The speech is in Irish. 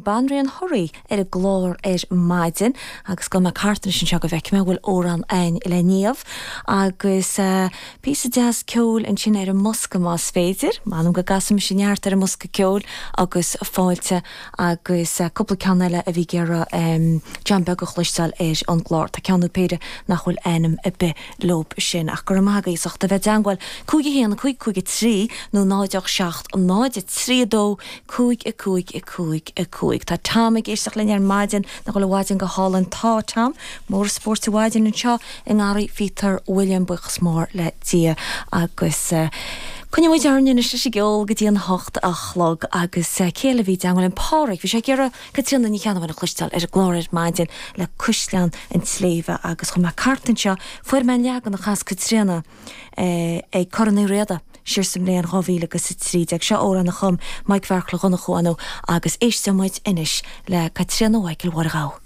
Banríon Thoraí ar an gclár ar maidin agus gabhfaidh mé thart anois anseo go bhfeicfidh mé an bhfuil amhrán a'ainn le Niamh agus píosa deas ceoil ansin ar an mbosca más féidir. M'anam go gcasfaidh mise neart ar an mbosca ceoil agus fáilte agus cúpla ceann eile a bhí ag iarraidh John Beag a chloisteáil ar an gclár. Tá ceann nó péire nach bhfuil ainm ar bith leob sin ach go raibh maith agaibh as ucht a bheith i dteangmháil. 5 1 5 5 3 nó 0 8 7 0 3 2 5 5 5 5. Tá Tom ag éisteacht linn ar maidin, nach bhfuil an mhaidin go hálainn? Tá, Tom. Mór an spóirt an mhaidin anseo i nGarraí Phíotair William, buíochas mór le Dia agus coinneoidh muid orainn anois leis an gceol go dtí an hocht a chlog agus cé eile a bhí i dteangmháil linn? Pádraig, bhí sé ag iarraidh Caitríona Ní Cheannabháin a chloisteáil ar an gclár ar maidin le Cuisleán an tSléibhe agus chuaigh mé thart anseo, fuair mé an leagan a chas Caitríona ag Corn Uí Riada siar sa mbliain 2013. Seo amhrán a chum Mike Bheartla Dhonnchú, ar ndóigh, agus éisteoidh muid anois le Caitríona Mhichael Mháire Ghabha.